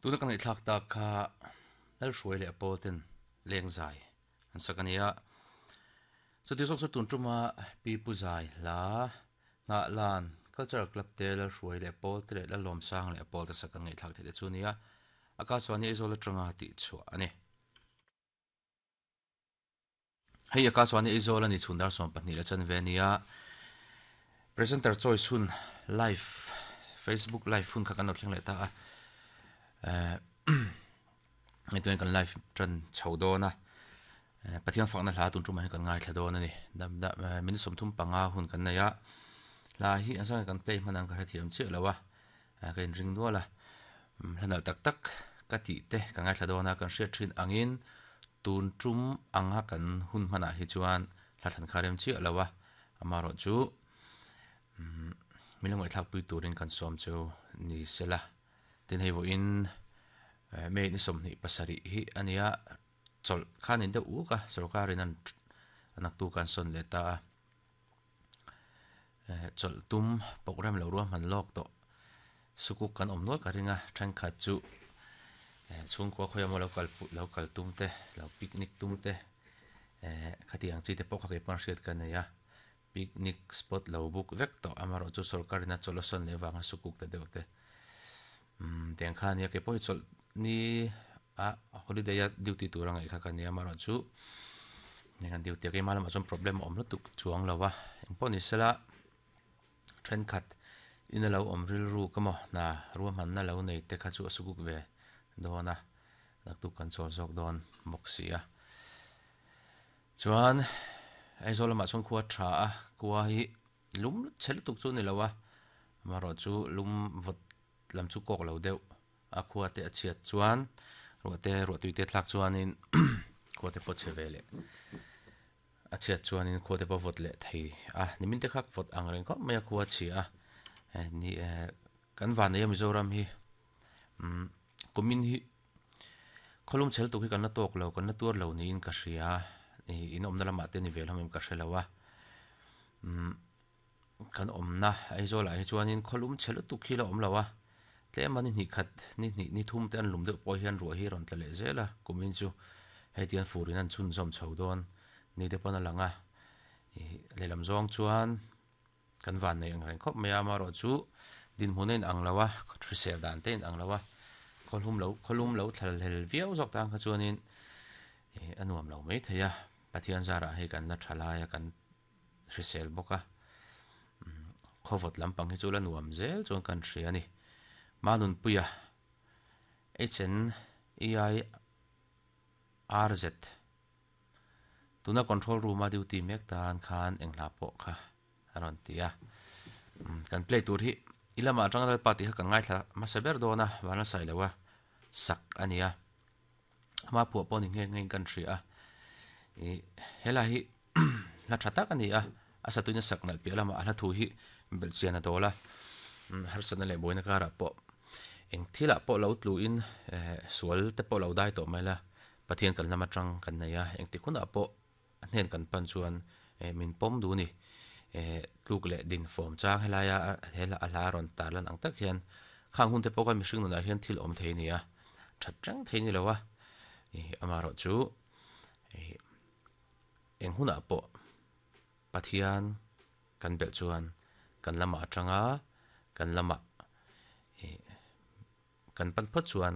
Tuna ka ngaihthlak tak kha Lalhruai leh Paul ten lengzai an sak a ni a. Chuti zawk chu tun tuma Pi Pu Zai hla nghah lan Cultural Club te Lalhruai leh Paul te leh Lalawmsang leh Paul te sak kan ngaihthlak theih te chu a ni a. Akaswani Aizawl atanga tihchhuah a ni. Hei Akaswani Aizawl a ni chhun dar 12 leh chanve a ni a, presenter choice hun live Facebook live hun kha kan lo thleng leh ta a, eh hei tunah kan live tan chho dawn a, eh Pathian fakna hla tun tumah hian kan ngaithla dawn a ni, dam da minute 35 hun kan nei a, hla hi a zan kan play hman ang ka hrethiam chiah lo a, ka inring nual a, hla nalh tak tak ka tih te ka ngaithla dawn a, kan hriat thin angin Tun tum anga kan hun hmanah hi chuan hla thlan kha rem chiah lo a, amaherawh chu min lo ngaihthlakpui turin kan sawm chu ni sela. Tin hei vawiin May ni 27 hi a nia, chawlh kha ni deuh uk a, sorkarin an naktu kan sawn leh ta a. Chawlh tum program lo ruahman lawk tawh sukuk kan awm nual ka ring a, thenkhat chu chhungkua khawi emaw lo kal lo kal tum te, lo picnic tum te khatiang chi te pawh kha keipawh hriat ka nei a, picnic spot lo book vek tawh amaherawh chu sorkar in a chawlh a sawn leh avanga sukuk ta deuh te tiang kha ania keipawh hi chawlh ni a holiday a duty tur a ngaih kha ka nia amaherawh chu heng an duty a keimah lamah chuan problem a awm lutuk chuang lo a engpawh ni sela thenkhat in a lo awm rilru ka maw hna ruahmanna lo nei te kha chu a sukuk ve dawn a naktuk kan chawl zawk dawn bawk si a chuan Aizawl lamah chuan khua tha a khua hi lum chhe lutuk chu a ni lo a amaherawh chu lum vawt lam chu kawk lo deuh a khua te a chhiat chuan ruah te ruah tui te thlak chuanin khua te pawh chhe ve leh a chhiat chuanin khua te pawh vawt leh thei a nimin te kha vawt ang reng khawp mai a khua a chhia a eh ni eh kan van nei a Mizoram hi umm kumin hi khawlum chhel tuk hi kan la tawk lo kan la tuar lo niin ka hria ih in awmna lamah te ni ve hlawm em ka hre lo a umm. Kan awmna Aizawl ah hi chuanin khawlum chhe lutuk hi la awm lo a, tlem a ni hnih khat ni hnih ni thum te an lum deuh pawh hian ruah hi a rawn tla leh zel a, kumin chu hei tian furin an chhunzawm chho dawn ni te pawn a lang a, ih lehlam zawng chuan kan van nei ang reng khawp mai a, amaherawh chu dinhmun a inang lo a, hrisel dan te a inang lo a, khawlum lo khawlum lo thlalhel viau zawk tan kha chuanin ih a nuam lo maithei a, Pathian zarah hei kan la tha lai a kan. hrisel bawk a, khawvawt lampang hi chu la nuam zel chuan kan hria a ni. Manunpuia HNEIRZ tuna control room a duty mek tan khan eng hla pawh kha a rawn ti a, kan play tur hi i lamah atanga Lalpa tih kha kan ngaithla hmasa ber dawn a, Vanlalsailo a sak a ni a. Ama phuah pawh ni nghe nghe in kan hria a, ih helai hi hla tha tak a ni a, a satuina sak nalh piah lamah a hla thu hi belhchian a dawl a, harsatna leh buaina karah pawh eng thilah pawh lo tlu in eh sual te pawh lo dai tawh mai la, Pathian kan lam atang kan nei a, engtik hunah pawh a hnen kan pan chuan eh min pawm duh a ni, eh tluk leh din fawm chang helaia he hla a hla a rawn tar lan ang tak hian khang hun te pawh khan mihring nunah hian thil awm thei a ni a, that reng thei a ni lo a, ih amaherawh chu ih eng hunah pawh Pathian kan belh chuan kan lamah atanga kan lamah ih Kan pan phawt chuan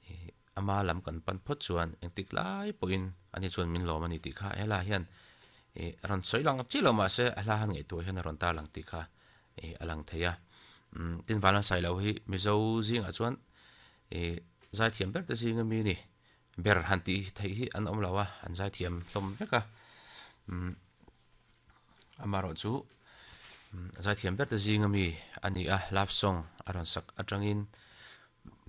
ih ama lam kan pan phawt chuan engtik lai pawhin ani chuan min lawm a ni tih kha hela hian ih a rawn sawi lang chiah lo mahse a hla han ngaihtuah hian a rawn tar lang tih kha ih a lang thei a umm tin Vanlalsai lo hi Mizo zingah chuan ih zaithiam ber te zinga mi a ni ber han tih theih hi an awm lo a an zaithiam hlawm vek a umm. Amaherawh chu zaithiam ber te zinga mi a ni a, love song a rawn sak atangin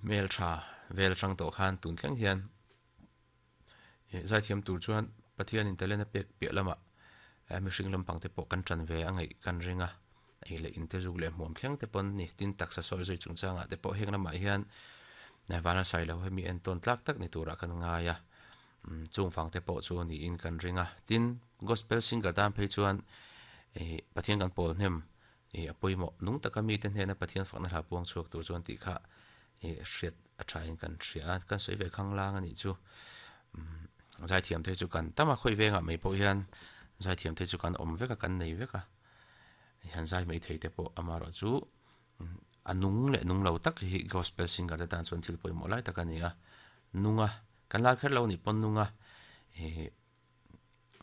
hmeltha vel atang tawh khan tun thleng hian zaithiam tur chuan Pathianin talent a pek piah lamah mihring lampang te pawh kan tan ve a ngaih kan ring a, ei leh in te zuk leh hmuam thleng te pawn ni tin taksa sawi zui chungchangah te pawh heng lamah hian Vanlalsai lo hi mi entawn tlak tak ni turah kan ngai a. Chung vang te pawh chu niin kan ring a, tin Gospel singer tan phei chuan ih Pathian kan pawl hnem ih a pawimawh nung taka mite hnena Pathian fakna hla puang chhuak tur chuan tih kha I hriat a thain kan hria a, kan sawi ve khanglang a nih chu. Zaithiam te chu kan tam a, khawi vengah mai pawh hian zaithiam te chu kan awm vek a, kan nei vek a. Han zai mai thei te pawh amaherawh chu a nung leh nung lo tak hi gospel singer te tan chuan thil pawimawh lai tak a ni a. Nung a, kan lar kher lo nih pawn nung a, ih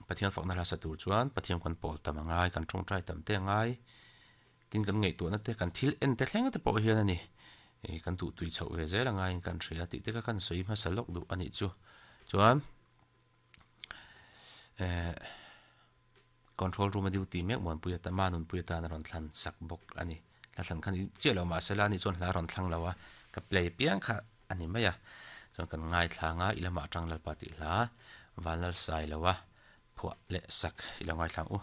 Pathian fakna hla sa tur chuan Pathian kan pawl tam a ngai, kan tawngtai tam te a ngai. Tin kan ngaihtuahna te, kan thil en te thleng te pawh hian a ni. Ih kan duhtui chhoh ve zel a ngaiin kan hria tih te kha kan sawi hmasa lawk duh a nih chu. Chuan eh control room a duty mek Muanpuia ta ma nunpuia tan a rawn thlan sak bawk a ni. Hla thlan khan chiah lo mahse la ani chuan hla a rawn thlang lo a, ka play piang kha a ni mai a. Chuan kan ngaithlang a, i lamah atang Lalpa tih hla Vanlal Sailoa phuah leh sak i lo ngaithlang u.